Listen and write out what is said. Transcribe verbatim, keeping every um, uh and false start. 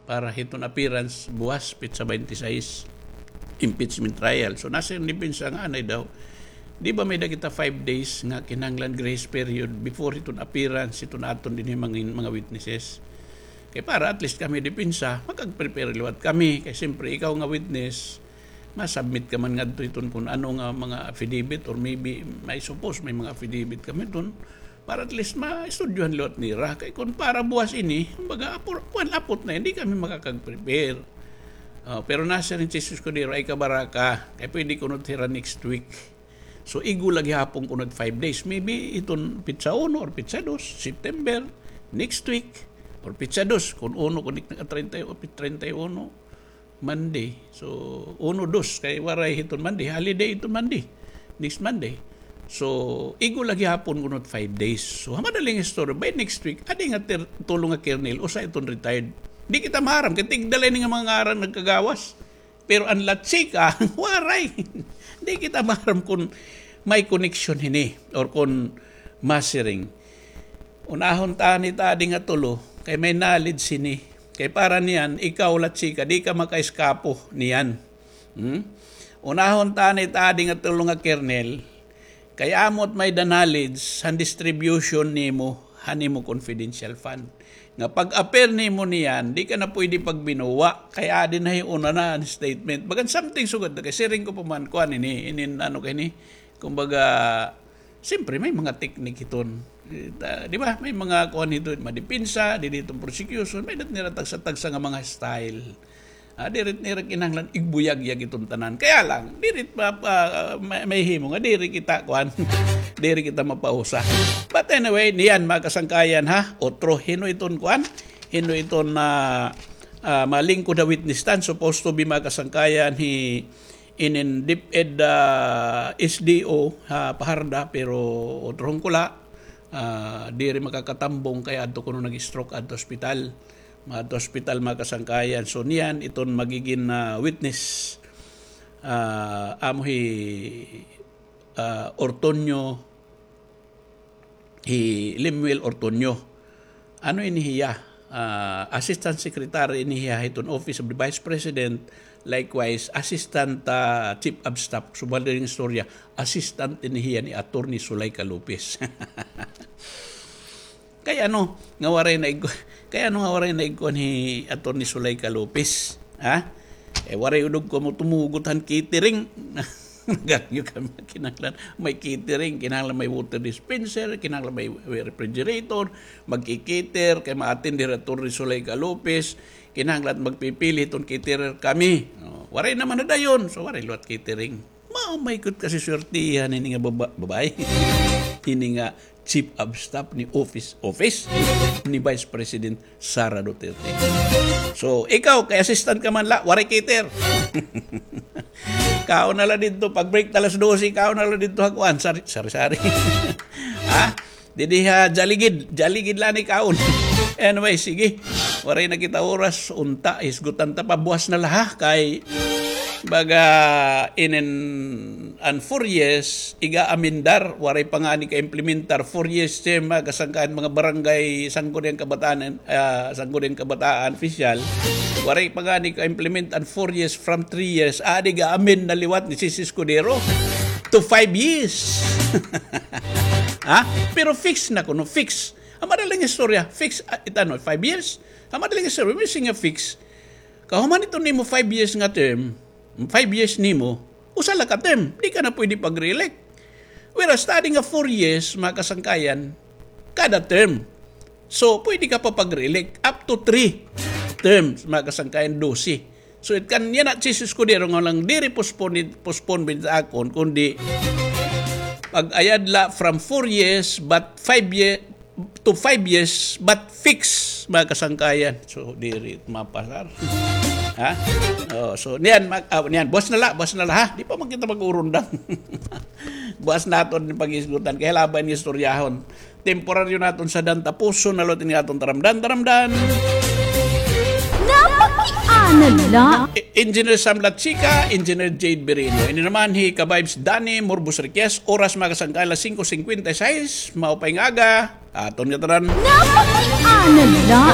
para hiton appearance buwas, petsa twenty-six, impeachment trial. So, nasiring depensa nga anay daw, di ba may-ada kita five days nga kinahanglan grace period before hiton appearance hiton aton dinhi mga, mga witnesses? Kay para at least kami depensa, makag-prepare liwat kami. Kay siyempre, ikaw nga witness, ma-submit ka man ngadto hiton kun ano nga mga affidavit, or maybe, may suppose, may mga affidavit kami hiton, para at least maistudyohan liwat nira. Kay kun para buwas ini, kumbaga, apor-, kuwan, apot na, hindi kami makakag-prepare. Ah, pero nasiring si Escudero, ay kabaraka, kay pwede kuno hira next week. So, igo la gihapon kuno five days. Maybe hiton petsa uno or petsa dos, September, next week, or petsa dos, kun uno, kun ik-, treinta o treinta y uno, Monday. So, uno, dos, kay waray hiton Monday. Holiday hiton Monday. Next Monday. So, igo la gihapon kuno five days. So, ha madaling istorya, by next week, adi nga ter-, tulo nga kernel, usa iton retired. Di kita maaram, kay tigda la ini nga mga ngaran nagkagawas. Pero an La Chica, waray. Di kita maaram kun may connection hini or kun masiring. Unahon ta ini ta adi nga tulo, kay may knowledge hini. Kay para niyan, ikaw, La Chica, di ka makaeskapo niyan. Hmm? Unahon ta ini ta adi nga tulo nga kernel, kay amo it may-ada knowledge han distribution nimo han imo confidential fund. Nga pag-appear nimo niyan, di ka na pwede pagbinuwa, kay adi na hi una na an statement. Bagan something sugad na, kay siring ko pa man, kuan ini, inin ano kay ni, kumbaga, siyempre, may mga teknik hiton. Eh, ta-, di ba? May mga kuan hiton, madepensa, didi hiton prosecution, may-ada nira tagsa-tagsa nga mga style. Ah, diri nira kinahanglan igbuyagyag iton tanan. Kaya lang, diri pa, pa, may, mahimo nga diri kita, kuan, diri kita mapausa. But anyway, niyan, mga kasangkayan, ha? Otro, hin-o iton, kuan? Hin-o iton, ah, ah, malingkod ha witness stand? Supposed to be, mga kasangkayan, hi inin DepEd, ah, S D O, ha, Fajarda, pero otro hon ko la, ah, diri makakatambong kay adto kuno nag-stroke adto ospital. Mga adto ospital, mga kasangkayan. So, niyan iton magigin, ah, witness, ah, amo hi, ah, Ortonio, hi Lemuel Ortonio. Ano ini hiya? Ah, assistant secretary ini hiya hiton Office of the Vice President, likewise, assistant, ah, chief of staff. So, madaling istorya, assistant ini hiya ni Attorney Zuleika Lopez. Kay ano nga waray na ig-, kay ano nga waray na igkuan hi Attorney Zuleika Lopez? Ha? Eh, waray udog ko mo tumugot han catering. Nagagyo kami, kinahanglan may catering, kinahanglan may water dispenser, kinahanglan may, may refrigerator, magki-cater, kay ma-attend diri Attorney Zuleika Lopez, kinahanglan magpipili hiton caterer kami. Oh, waray naman na dayon, so waray liwat catering. Mao may kut kasi swertihan ini nga baba-, babae. Ini nga chief of staff ni office, office ni Vice President Sara Duterte. So, ikaw, kay assistant ka man la, waray cater. Kaon na la didto, pag break ta alas dose, kaon na la didto ha kuan, sari-, sari-sari. Ha? Didi ha Jollibee, Jollibee la ni kaon. Anyway, sige. Waray na kita oras, unta, hisgutan ta pa, buwas na la ha, kay baga inin an four years, iga-amendar, waray pa ngani ka-implementar, four years term, mga kasangkayan, mga barangay, sangguniang kabataan, ah, sangguniang kabataan, official, waray pa ngani ka-implement an four years from three years, adi ga-amend na liwat ni Chiz Escudero to five years. Ha? Pero fix na kuno, fix. Ha madaling istorya, fix, ah, it ano, five years? Ha madaling istorya, may singa fix. Kahuman ito nimo five years nga term, five years nimo, usa la ka term, di ka na pwede pag-re-elect. Whereas, ta adi nga four years, mga kasangkayan, kada term. So, pwede ka pa pag-re-elect up to three terms, mga kasangkayan, dose. So, it kan yana, Chiz Escudero nga lang diri postpone, postpone bitaw akon, kundi pag-ayad la from four years, but five year, to five years, but fix, mga kasangkayan. So, diri mapasar. Ha? Oh, so, niyan, mag-, ah, niyan, buwas na la, buwas na la, ha? Di pa man kita mag-urundang. Buwas naton ni pag-isgutan. Kay laban nga istoryahon. Temporaryo naton sa dan, tapuson na liwat ini aton taramdan, taramdan. Napakiana la. E-, Engineer Sam Lachica, Engineer Jade Birino. Ini naman hi Ka-Vibes Danny Morbos Riquez. Oras, mga kasangkayan, alas singko singkwenta y sais. Maupay nga aga. Aton nga tanan. Napakiana la.